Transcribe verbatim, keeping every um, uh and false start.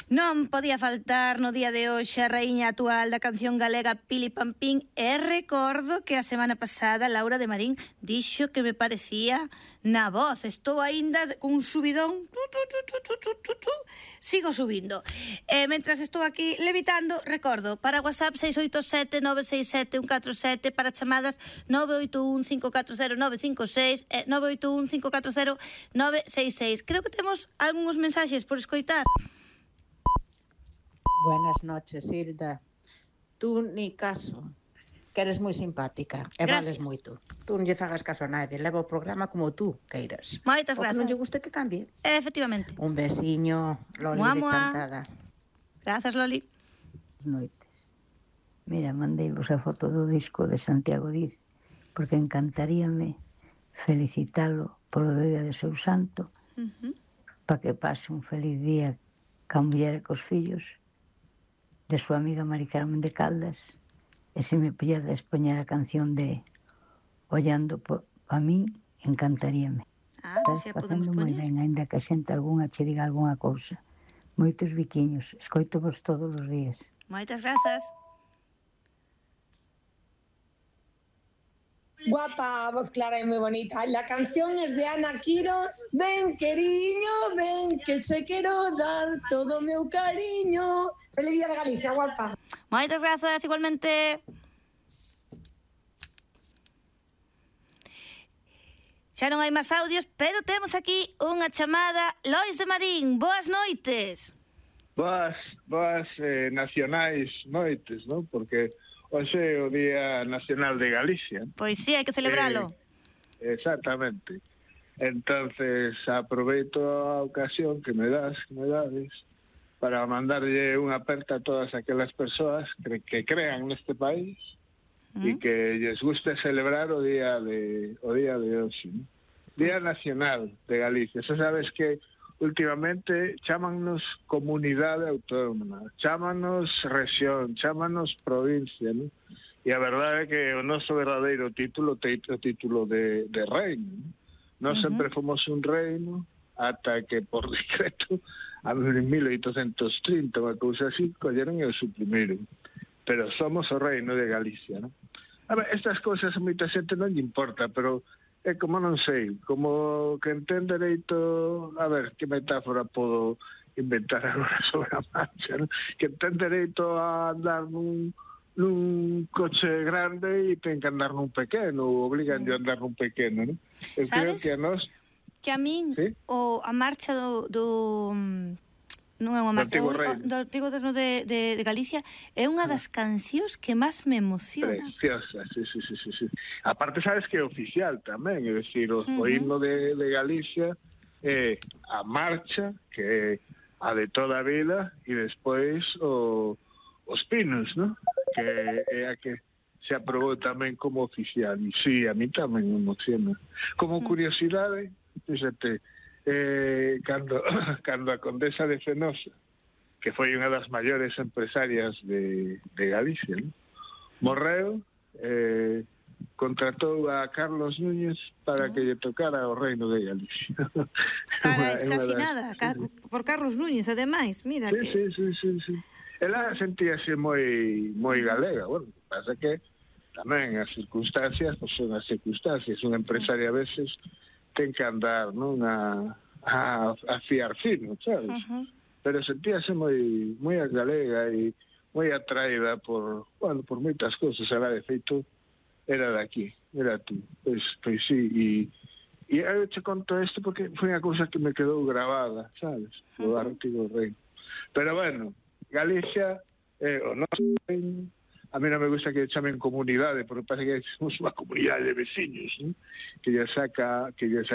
Non podía faltar no día de hoxe a raíña actual da canción galega Pili Pampín e recordo que a semana pasada Laura de Marín dixo que me parecía na voz. Estou aínda cun subidón, tu, tu, tu, tu, tu, tu, tu, tu. Sigo subindo. E mentras estou aquí levitando, recordo, para WhatsApp seis oito sete nove seis sete un catro sete, para chamadas nove oito un cinco catro cero nove cinco seis e nove oito un cinco catro cero nove seis seis. Creo que temos algúns mensaxes por escoitar. Buenas noches, Hilda. Tú ni caso, que eres moi simpática e vales moito. Tú non lle fagas caso a nadie, leva o programa como tú queiras. Moitas grazas. O que non lle guste que cambie. Efectivamente. Un besiño, Loli Mua, de mua. Chantada. Grazas, Loli. Noites. Mira, mandei vos a foto do disco de Santiago Diz, porque encantaríame felicitalo polo día de seu santo, uh-huh. para que pase un feliz día ca muller e cos fillos de súa amiga Mari Carmen de Caldas, e se me pudedes poñer a canción de Ollando a min, encantaríame. Ah, Estás facendo moi ben, ainda que a xente algunha che diga algunha cousa. Moitos biquiños, escoito vos todos os días. Moitas grazas. Guapa, voz clara y muy bonita. La canción es de Ana Quiro. Ven, queriño, ven, que che quero dar todo meu cariño. Feliz día de Galicia, guapa. Moitas grazas, igualmente. Xa non hai máis audios, pero temos aquí unha chamada. Lois de Marín, boas noites. Boas, boas eh, nacionais noites, non? Porque hoxe é o Día Nacional de Galicia. Pois sí, hai que celebralo. Eh, exactamente. Entonces, aproveito a ocasión que me das, que me dades, para mandarlle unha aperta a todas aquelas persoas que, que crean neste país e que lles guste celebrar o día de o día de hoxe, ¿no? Día Nacional de Galicia. Xa sabes que últimamente chámannos comunidade autónoma, chámanos rexión, chámanos provincia, ¿no? E a verdade é que o noso verdadeiro título é o título de, de reino, ¿no? Nós uh-huh. sempre fomos un reino ata que por decreto a mil oitocentos trinta, unha cousa así, colleron e o suprimiron. Pero somos o reino de Galicia, ¿no? A ver, estas cousas a moita xente non lle importa, pero é como non sei, como que entén dereito, a ver, que metáfora podo inventar agora sobre a marcha, ¿no? Que entén dereito a andar nun, nun coche grande e ten que andar nun pequeno, ou obligan de andar nun pequeno, ¿no? Eu creo que a nos... Que a min, ¿sí? o a marcha do... do non é unha marcha, do Antigo Goberno de, de, de Galicia é unha das cancións que máis me emociona. Preciosa, sí, sí, sí, sí, sí. Aparte sabes que é oficial tamén, é dicir, o, uh-huh. o himno de, de Galicia é a marcha, que é a de toda a vida, e despois o, os pinos, ¿no? Que é a que se aprobou tamén como oficial, e sí, a mí tamén me emociona. Como curiosidade, fíxate, Eh, cando, cando a condesa de Fenosa, que foi unha das maiores empresarias de, de Galicia, ¿no? Morreu, eh, contratou a Carlos Núñez para que lle tocara o reino de Galicia. Cara, es casi nada, por Carlos Núñez, ademais, mira sí, que... Sí, sí, sí, sí. Ela sentíase moi moi galega, bueno, pasa que tamén as circunstancias, pois son as circunstancias, unha empresaria a veces ten que andar, non, a, a, a fiar fino, sabes? Uh-huh. Pero sentíase moi moi galega e moi atraída por, bueno, por moitas cousas. Ela, de feito, era de aquí, era tú. Pois, pois sí, e, e eu te conto isto porque foi unha cousa que me quedou grabada, sabes? O uh-huh. Antigo Reino. Pero, bueno, Galicia, eh, o noso reino, a mí non me gusta que chamen comunidade, porque parece que somos unha comunidade de veciños, ¿no? Que lle saca, que lle saca